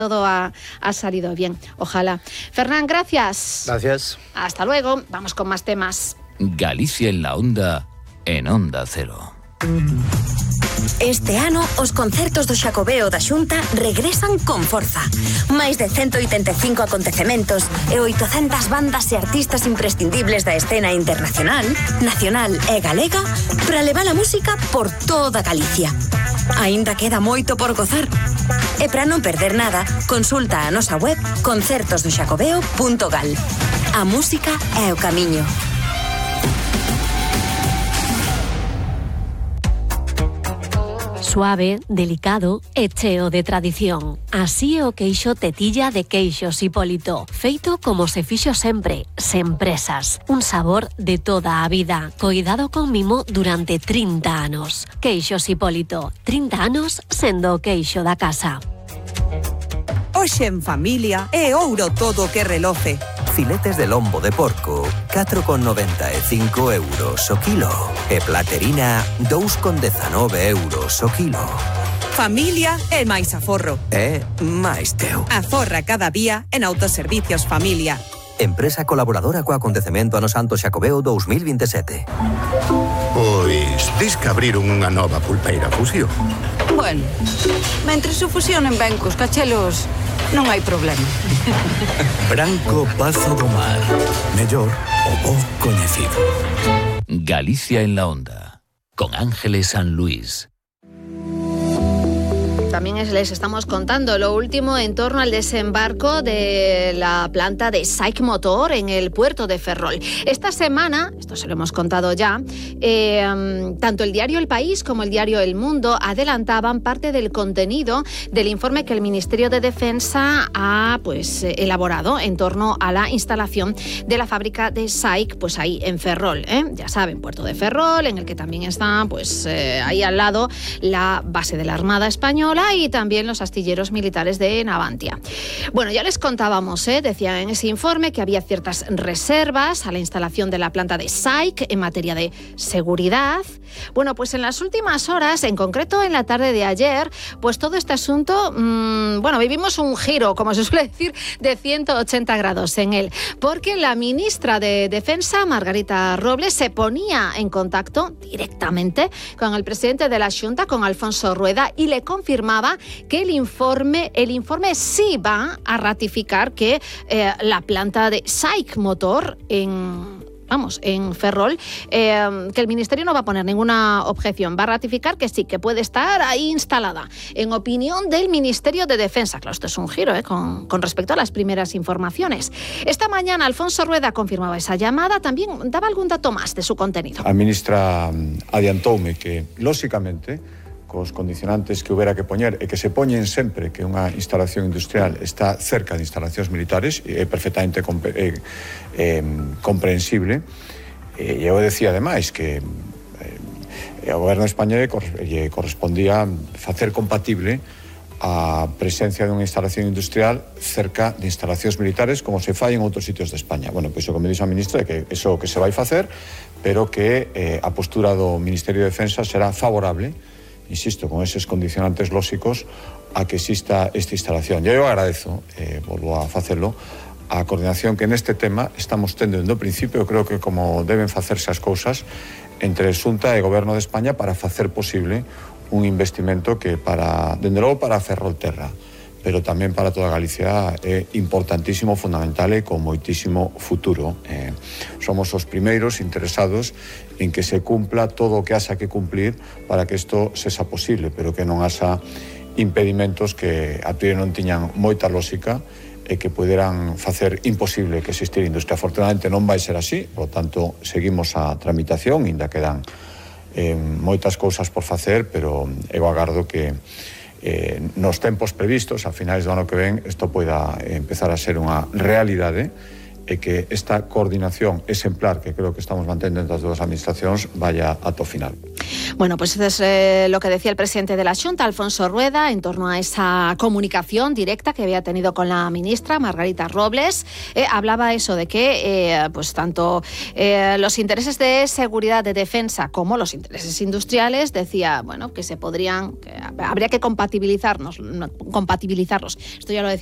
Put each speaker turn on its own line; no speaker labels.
todo ha salido bien, ojalá. Fernán, gracias.
Gracias.
Hasta luego, vamos con más temas.
Galicia en la onda, en Onda Cero.
Este ano, os concertos do Xacobeo da Xunta regresan con forza. Máis de 185 acontecementos e 800 bandas e artistas imprescindibles da escena internacional, nacional e galega para levar a música por toda Galicia. Aínda queda moito por gozar. E para non perder nada, consulta a nosa web concertosdoxacobeo.gal. A música é o camiño.
Suave, delicado e cheo de tradición. Así é o queixo tetilla de Queixos Hipólito. Feito como se fixo sempre, sen presas. Un sabor de toda a vida. Coidado con mimo durante 30 anos. Queixos Hipólito. 30 anos sendo o queixo da casa.
Hoxe en familia é ouro todo o que reloce.
Filetes de lombo de porco, 4,95 euros o kilo. E platerina, 2,19 euros o kilo.
Familia é máis aforro.
É máis teu.
Aforra cada día en Autoservicios Familia.
Empresa colaboradora co acontecemento Ano Santo Xacobeo 2027.
Pois, dis que abriron unha nova pulpeira Fusión.
Bueno, mentre se fusionen ben cos cachelos, non hai problema.
Branco Pazo do Mar. Mellor o bo coñecido. Galicia en la onda, con Ángeles San Luis.
También les estamos contando lo último en torno al desembarco de la planta de SAIC Motor en el puerto de Ferrol. Esta semana, esto se lo hemos contado ya, tanto el diario El País como el diario El Mundo adelantaban parte del contenido del informe que el Ministerio de Defensa ha elaborado en torno a la instalación de la fábrica de SAIC, pues ahí en Ferrol, ya saben, puerto de Ferrol, en el que también está ahí al lado la base de la Armada Española y también los astilleros militares de Navantia. Bueno, ya les contábamos, decían en ese informe que había ciertas reservas a la instalación de la planta de SAIC en materia de seguridad. Bueno, pues en las últimas horas, en concreto en la tarde de ayer, pues todo este asunto, vivimos un giro, como se suele decir, de 180 grados en él, porque la ministra de Defensa, Margarita Robles, se ponía en contacto directamente con el presidente de la Xunta, con Alfonso Rueda, y le confirmaba que el informe sí va a ratificar que la planta de SAIC Motor en Ferrol, que el Ministerio no va a poner ninguna objeción, va a ratificar que sí, que puede estar ahí instalada, en opinión del Ministerio de Defensa. Claro, esto es un giro con respecto a las primeras informaciones. Esta mañana Alfonso Rueda confirmaba esa llamada, también daba algún dato más de su contenido.
A ministra adiantoume que, lóxicamente, cos condicionantes que houbera que poñer e que se poñen sempre que unha instalación industrial está cerca de instalacións militares, é perfectamente comprensible. E eu decía ademais que ao goberno español lle correspondía facer compatible a presencia dunha instalación industrial cerca de instalacións militares como se fai en outros sitios de España. Bueno, pois o que me dixo a ministra é que iso que se vai facer, pero que a postura do Ministerio de Defensa será favorable, insisto, con eses condicionantes lóxicos, a que exista esta instalación. Eu agradezo, volvo a facelo, a coordinación que neste tema estamos tendo desde o principio. Eu creo que como deben facerse as cousas entre Xunta e Goberno de España para facer posible un investimento que dende logo para Ferrolterra, pero tamén para toda Galicia é importantísimo, fundamental e con moitísimo futuro. Somos os primeiros interesados en que se cumpla todo o que haxa que cumplir para que isto sexa posible, pero que non haxa impedimentos que a priori non tiñan moita lógica e que puderan facer imposible que existir industria. Afortunadamente non vai ser así, por tanto, seguimos a tramitación, ainda quedan moitas cousas por facer, pero eu agardo que nos tempos previstos, a finais do ano que ven, isto poida empezar a ser unha realidade e que esta coordinación exemplar que creo que estamos mantendo entre as dúas administracións vaya ata o final.
Bueno, pues eso es lo que decía el presidente de la Xunta, Alfonso Rueda, en torno a esa comunicación directa que había tenido con la ministra Margarita Robles. Hablaba eso de que pues tanto los intereses de seguridad, de defensa, como los intereses industriales, decía, bueno, que habría que compatibilizarlos. Esto ya lo decía